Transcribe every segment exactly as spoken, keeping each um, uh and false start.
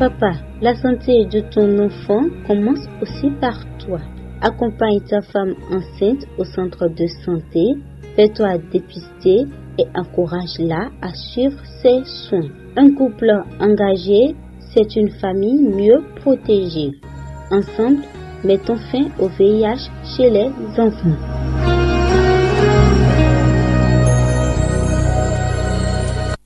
Papa, la santé de ton enfant commence aussi par toi. Accompagne ta femme enceinte au centre de santé, fais-toi dépister et encourage-la à suivre ses soins. Un couple engagé, c'est une famille mieux protégée. Ensemble, mettons fin au V I H chez les enfants.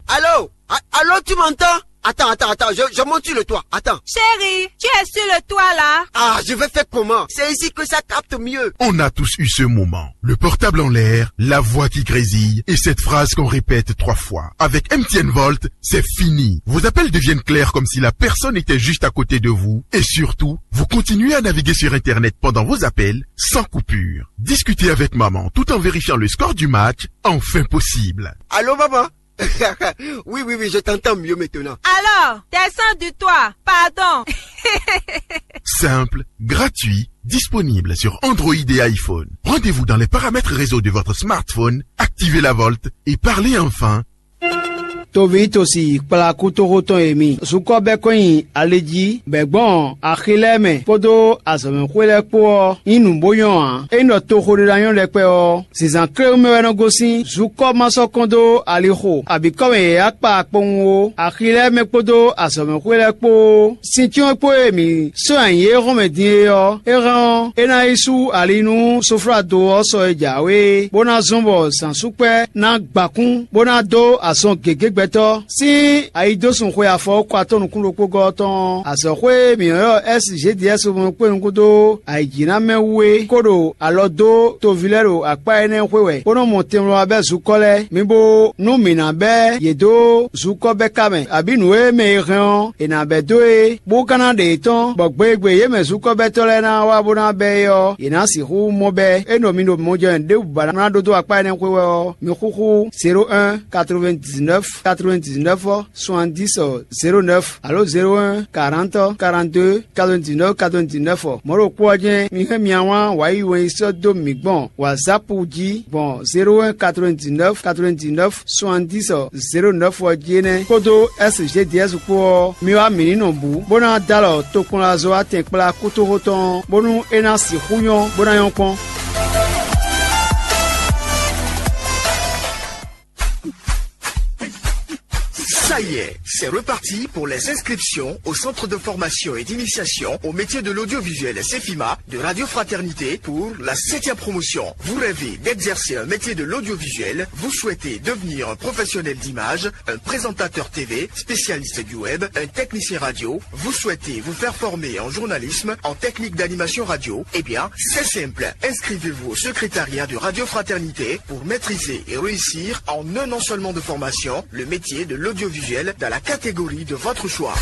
Allô? A- Allô, tu m'entends? Attends, attends, attends, je, je monte sur le toit. Attends. Chérie, tu es sur le toit là? Ah, je vais faire comment? C'est ici que ça capte mieux. On a tous eu ce moment. Le portable en l'air, la voix qui grésille et cette phrase qu'on répète trois fois. Avec M T N Volt, c'est fini. Vos appels deviennent clairs comme si la personne était juste à côté de vous et surtout, vous continuez à naviguer sur Internet pendant vos appels sans coupure. Discutez avec maman tout en vérifiant le score du match, enfin possible. Allô, maman? Oui, oui, oui, je t'entends mieux maintenant. Alors, descends du toit, pardon. Simple, gratuit, disponible sur Android et iPhone. Rendez-vous dans les paramètres réseau de votre smartphone, activez la Volt et parlez enfin. Toví tosi kplakútoxótɔn e mi zukɔ bɛ́ kɔn nyi ali jí bɛ̌ gbɔn axi lɛ́ɛ mɛ kpódó azɔ̌mɛxwé lɛ́ɛ kpó ɔ́, nyí nǔ bó nyɔ́ ǎ. Ényí ɖɔ toxo ɖé ná nyɔ́ ɖɛkpɛ ɔ́, zǐnzán kléwún mɛ wɛ nɔ gosín. Zukɔ ma sɔ́ kɔn dó alixo abǐ kɔ́ mɛ yě yá kpa kpowun ó. Axi lɛ́ɛ mɛ kpódó azɔ̌mɛxwé lɛ́ɛ kpó sin cyɔ́n kpó e mǐ sɔ́ nyi yě hɔn mɛ din é ɔ́, é hɛn ɔ́, é ná yi sú ali nú soflado ɔ́ sɔ e jǎwe é, bó ná zɔ́n bɔ zǎnsúkpɛ́ ná gba kún, bó ná dó azɔn gěgé gbɛtɔ́ sín ayidósun xwe afɔwúkɔ atɔ́ nukún ɖokpó gɔ́ ɔ́ tɔn ɔ́. Azɔ̌xwé e mǐ ylɔ́ S G D S mɔ kpé nukún dó ayǐjínamɛ wú é kó ɖo alɔ dó toví lɛ́ɛ ɖo akpá énɛ́ xwé wɛ, bó nɔ́ mɔ tɛnmlɔ́ wá bɛ́ zukɔ́ lɛ́ɛ. Mi bo nú mǐ ná bɛ́ yě dó zukɔ́ bɛ́ ka mɛ, abǐ nǔ e mɛ e hɛn ɔ́, è nǎ bɛ́ dó e, bó ka ná ɖe yě tɔn, bɔ gbe e gbe yě mɛ zukɔ́bɛ́tɔ́ lɛ́ɛ ná wá bó ná bɛ́ é ɔ́, yě ná sixú mɔ bɛ́. É nɔ mi ɖo mɔjɛ́nɛ ɖěbǔ ba ná ɖó dó akpá énɛ́ xwé wɛ ɔ́, mi xúxú zéro un quatre-vingt-dix-neuf quatre-vingt-dix-neuf soixante-dix zéro neuf alo zéro un quarante quarante-deux quatre-vingt-dix-neuf quatre-vingt-dix-neuf ɔ. Mɔ̌ ɖokpó ɔ́ jɛ́n mi hɛn mia wán wǎyi wɛn yi sɔ́ dó mǐ gbɔn WhatsApp jí gbɔn zéro un quatre-vingt-dix-neuf quatre-vingt-dix-neuf soixante-dix zéro neuf ɔ jí énɛ́ kpódó S G D S kpó ɔ́, mi wá mǐ ní nɔ bǔ bó ná dó alɔ tokpɔnlazɔ́watɛn kplá kútóxótɔn ɔ́, bónú é ná sixú nyɔ́ bó ná nyɔ́ kpɔ́n. Ça y est, c'est reparti pour les inscriptions au centre de formation et d'initiation au métier de l'audiovisuel Cefima de Radio Fraternité pour la septième promotion. Vous rêvez d'exercer un métier de l'audiovisuel, vous souhaitez devenir un professionnel d'image, un présentateur T V, spécialiste du web, un technicien radio, vous souhaitez vous faire former en journalisme, en technique d'animation radio, eh bien, c'est simple. Inscrivez-vous au secrétariat de Radio Fraternité pour maîtriser et réussir en un an seulement de formation le métier de l'audiovisuel dans la catégorie de votre choix.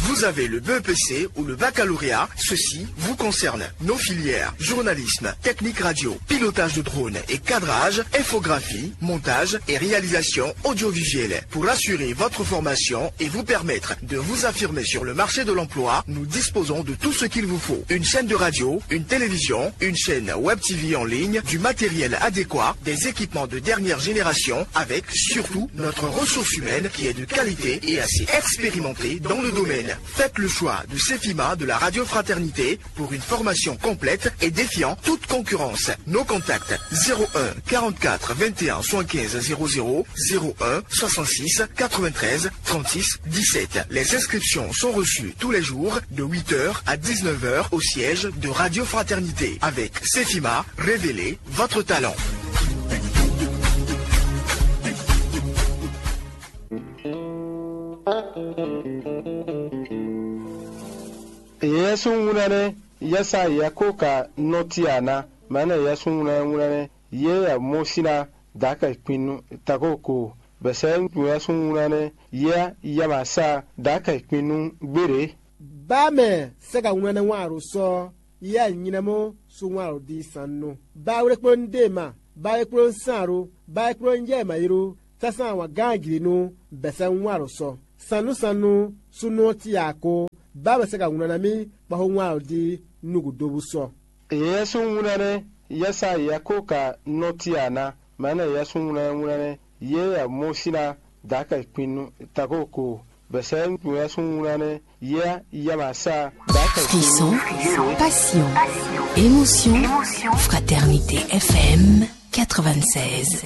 Vous avez le B E P C ou le baccalauréat, ceci vous concerne. Nos filières, journalisme, technique radio, pilotage de drone et cadrage, infographie, montage et réalisation audiovisuelle. Pour assurer votre formation et vous permettre de vous affirmer sur le marché de l'emploi, nous disposons de tout ce qu'il vous faut. Une chaîne de radio, une télévision, une chaîne web T V en ligne, du matériel adéquat, des équipements de dernière génération, avec surtout notre ressource humaine qui est de qualité et assez expérimentée dans le domaine. Faites le choix de Cefima de la Radio Fraternité pour une formation complète et défiant toute concurrence. Nos contacts: zéro un quarante-quatre vingt et un soixante-quinze zéro zéro, zéro un soixante-six quatre-vingt-treize trente-six dix-sept. Les inscriptions sont reçues tous les jours de huit heures à dix-neuf heures au siège de Radio Fraternité. Avec Cefima, révélez votre talent. Yɛsúnwúnɛ nɛ́, yɛsa yɛkóka nɔ́ cí a ná? Mɛ̌ nɛ́ yɛsúnwúnɛ wúnɛ nɛ́, yě yɛ mɔ sín ná dǎkɛ kpin nú takóko, bɛ̌ sɛ́ yɛsúnwúnɛ nɛ́, yě yɛ ma sa dǎkɛ kpin nú gbéɖě. Bá mɛ sɛ́ ka wlɛ́n nɛ́ wán aɖo sɔ́, yɛ nyinɛmɔ sú wán aɖo dí sannú. Bá wlékpló nú dé ma, bá wlékpló nú sán aɖo, bá wlékpló nú jɛ ma yi ɖó, sásán wǎn gán jlǐ nú bɛ̌ sɛ́ wán aɖo sɔ́. Sannú sannú súnnu ɔ́ cí ǎ kó, bá mɛ sɛ́ ka wlɛ́n ná mì kpɔ́ xó wán aɖo dí nú gǔdo bú sɔ́. Yɛsúnwúnɛ nɛ́, yɛsa yɛkóka nɔ́ cí a ná? Mɛ̌ nɛ́ yɛsúnwúnɛ wúnɛ nɛ́, yě yɛ mɔ sín ná Daka kpinu tako ko bɛsɛ nuyɛ sun wuna ne ya yamasa. Daka Frisson, passion, émotion, fraternité F M quatre-vingt-seize.